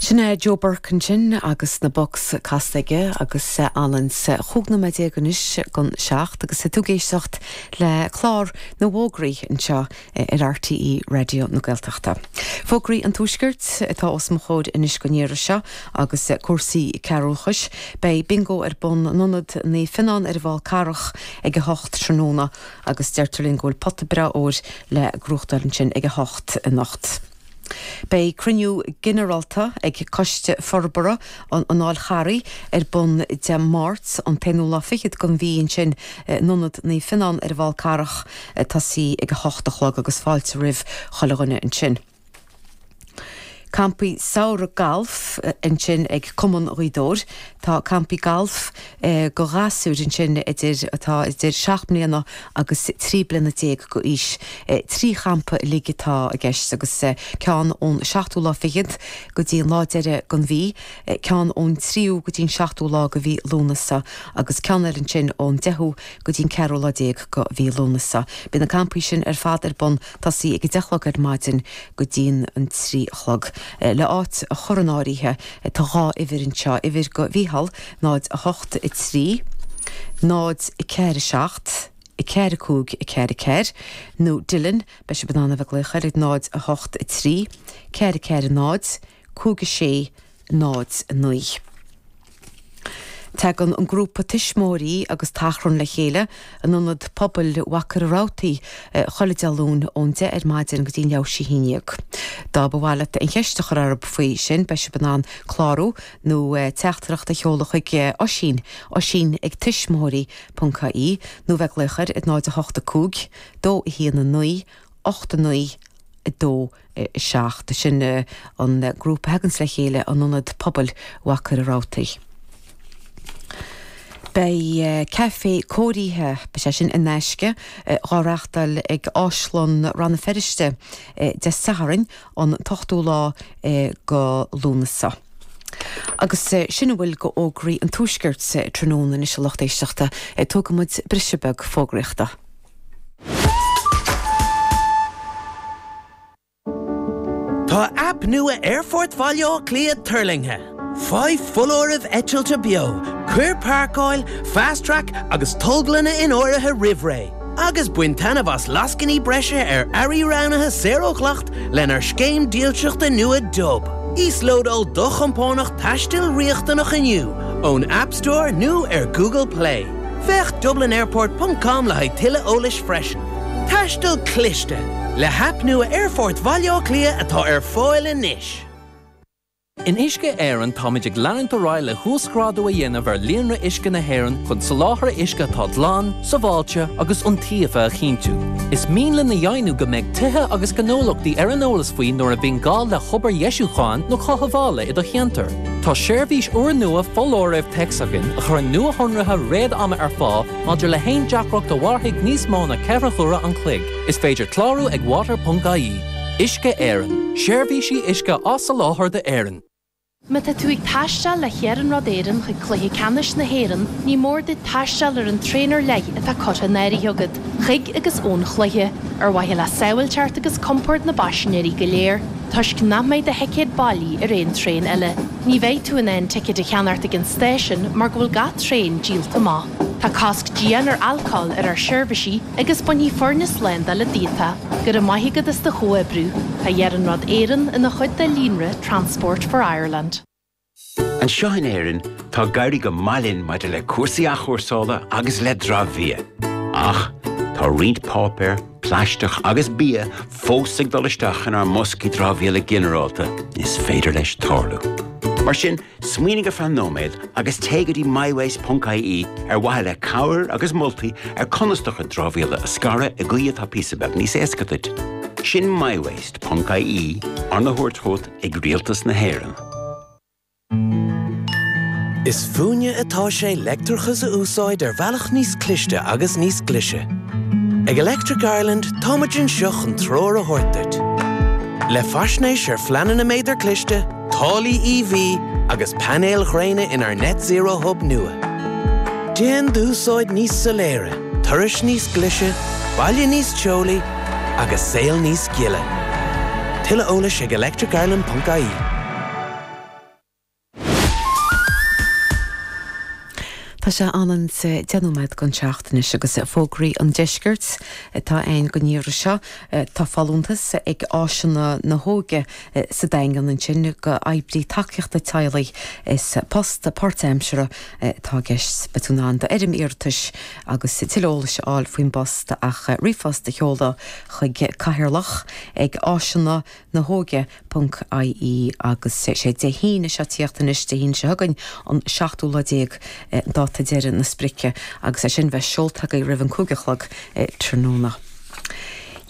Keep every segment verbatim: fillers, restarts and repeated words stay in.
Sin é Joe Burke ansin agus na Bucks casta aige agus Alan chúig nóiméad déag anois don seacht agus tú ag éisteacht le clár na bhfógraí anseo ar RTÉ Raidió na Gaeltachta. Fógraí an Tuaiscirt atá os mo chomhair anois don iarraidh seo agus cúrsaí cearúchais, Beidh bingo ar bun in Ionad Naomh Fionnán ar an bhFál Carrach ag a hocht tráthnóna agus deirtear linn go bhfuil pota breá óir le gnóthachtáil ansin ag a hocht anocht. Beidh cruinniú ginearálta ag Coiste Forbartha an an Fháil Charraigh ar bun Dé Máirt an t-aonú lá fichead den mhí ansin in Ionad Naomh Fionnán ar an bhFál Carrach tosaí ag a hocht a chlog agus fáilte roimh chuile dhuine ansin. Campaí samhraidh gailf ansin ag Cumann Ghaoth Dobhair. Tá campaí gailf do ghasúir ansin idir atá idir seacht mbliana agus trí bliana déag d'aois. Trí champa uilig atá i gceist agus ceann ón seachtú lá fichead go dtí an lá deiridh den mhí, ceann ón tríú go dtí an seachtú lá de mhí Lúnasa agus ceann eile ansin ón deichiú go dtí an ceathrú lá déag de mhí Lúnasa. Beidh na campaí sin ar fad ar bun tosaí ag a deich a chlog ar maidin go dtí an trí a chlog. Le áit a chur in áirithe tá dhá uimhir anseo, uimhir do Mhícheál náid a hocht a trí, náid ceathair a seacht, ceathair a cúig ceathair ceathair, nó Dylan, beidh sibh in ann a bheith ag glaoch air ag náid a hocht a trí, ceathair ceathair náid, cúig a sé, náid naoi. Tagann an grúpa tuismitheoirí agus tachrann le chéile in ionad pobail Mhachaire Rabhartaigh chuile Dé Luain ón deich ar maidin go dtí an leathuair théis a haon déag. Dá ba mhaith leat aon cheist a chur orthu faoi sin beidh sibh in ann clárú nó teachtaireacht a sheoladh chuig Oisín, Oisín ag tuismitheoirí ponc ie nó bheith ag glaoch air ag náid a hocht a cúig, dó a haon a naoi, ocht a naoi, a dó seacht. Sin an grúpa a thaganns le chéile in ionad pobail Mhachaire Rabhartaigh. Beidh caife cóirithe, beidh sé sin in aisce, á reáchtáil ag Áislann Rann na Feirste Dé Sathairn an t-ochtú lá de Lúnasa. Agus sin a bhfuil de fhógraí an Tuaiscirt tráthnóna anois a lucht éisteachta, tógfaidh muid briseadh beag fógraíochta. Tá aip nua Aerfort Bhaile Átha Cliath tuirlingthe. Faigh foláirimh eitilte beo, cuir páirceáil, fast track agus tolglanna in áirithe roimh ré. Agus bain taitneamh as lascainí breise ar earraí roghnaithe saor ó dhleacht lenár scéim dílseachta nua Dub. Íoslódáil do chompánach taistil riachtanach inniu ón App Store nó ar Google Play. Féach dublinairport ponc com le haghaidh tuilleadh eolais freisin. Taisteal cliste le haip nua Aerfort Bhaile Átha Cliath atá ar fáil anois. In Uisce Éireann táimid ag leanúint ar aghaidh le huasghrádú a dhéanamh ar líonra uisce na hÉireann chun soláthar uisce atá glan, sábháilte agus iontaofa a chinntiú. Is mian linn a dheimhniú go mbeidh tithe agus gnólachtaí ar an eolas faoi nuair a bhíonn gá le hobair dheisiúcháin nó chothabhála i do cheantar. Tá seirbhís úrnua foláirimh téacs againn a chuireann nuashonruithe réad-ama ar fáil maidir le haon deacracht a mhairfidh níos mó ná ceithre huaire an chloig. Is féidir clárú ag water ponc ie. Uisce Éireann, seirbhísí uisce á soláthar d'Éirinn. Má tá tú ag taisteal le hIarnród Éireann chuig Cluiche Ceannais na hÉireann, ní mór duit taisteal ar an traein ar leith atá curtha in áirithe agat, chuig agus ón chluiche, ar mhaithe le sábháilteacht agus compord na bpaisinéirí go léir, toisc nach mbeidh do thicéad bailí ar aon traein eile. Ní bheidh tú in ann ticéid a cheannacht ag an stáisiún mar go bhfuil gach traein díolta amach. Tá cosc dian ar alcól ar ár seirbhísí agus bainfidh foirne slándála díot. Go raibh maith agat as do chomhoibriú. Tá Iarnród Éireann ina chuid de líonra Transport for Ireland. Anseo in Éirinn tá ag éirí go maith linn maidir le cúrsaí athchúrsála agus le dramhbhia. Ach tá roinnt páipéar, plaisteach agus bia fós ag dul isteach inár mboscaí dramhaíola ginearálta is féidir leis tarlú. Mar sin, smaoinigh ar feadh nóiméad agus téigh go dtí mywaste ponc ie ar mhaithe le cabhair agus moltaí ar conas do chuid dramhaíola a scaradh i gcaoi atá píosa beag níos éasca duit. Sin mywaste ponc ie arna thabhairt chugat ag Rialtas na hÉireann. Is fúinne atá sé leictreachas a úsáid ar bhealach níos cliste agus níos glaise. Ag Electric Ireland táimid anseo chun treoir a thabhairt duit. Le faisnéis ar phleananna méadar cliste, táillí E V agus painéil ghréine inár Net Zero Hub nua. Déan d'úsáid níos soiléire, turais níos glaise, baile níos teolaí agus saol níos gile. Tuilleadh eolais ag electricireland ponc ie. Tá sé ann deich nóiméad don seacht anois agus fógraí an deiscirt atá ann don iarraidh seo tá folúntas ag Áiseanna na hÓige sa Daingean ansin go oibrí tacaíochta teaghlaigh is post páirtaimseartha atá i gceist beidh tú in ann d'fhoirm iarratais agus tuilleadh eolais a fháil faoin bpost ach ríomhphost a sheoladh chuig cathaoirleach ag áiseanna na hóige ponc IE agus sé Dé hAoine seo tíocht anois Dé hAoine seo chugainn an seachtú lá déag dáta deireadh na sprice agus é sin bheith seolta roimh an cúig a chlog tráthnóna.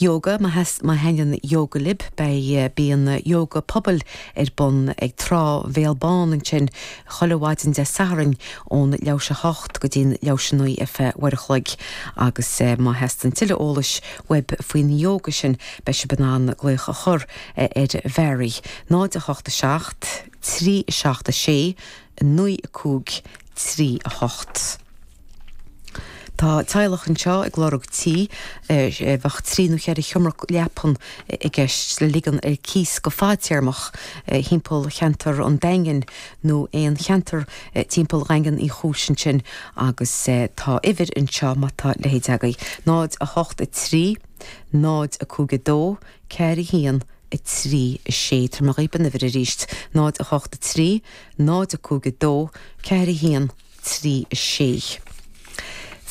Yoga má thaitníonn yoga libh beidh bíonn yoga pobail ar bun ag Trá Bhéal Bán ansin chuile mhaidin Dé Sathairn ón leathuair théis a hocht go dtí'n leathuair théis a naoi ar feadh uair a chloig agus má theastaíonn tuilleadh eolais uaibh faoin yoga sin beidh sibh in ann glaoch a chur ar Mhary náid a hocht a seacht, trí seacht a sé, naoi a cúig, trí a hocht. Tá teaghlach anseo ag lorg tí bheadh trí nó ceithre sheomra leapan i gceist le ligean ar cíos go fadtéarmach timpeall cheantar an Daingin nó aon cheantar timpeall Dhaingean Uí Chúis ansin agus tá uimhir anseo má tá leithéid agaibh. Náid a hocht a trí, náid a cúig a dó, ceithre haon a trí a sé Tabharfaidh mé dhaoibh an uimhir arís, náid a hocht a trí, náid a cúig a dó, ceithre haon trí a sé.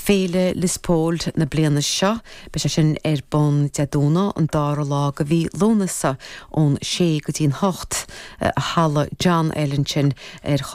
Féile Lios Póil na bliana seo, beidh sé sin ar bun Dé Domhnaigh an dara lá de mhí Lúnasa ón sé go dtí'n hocht a halla John L ansin ar chos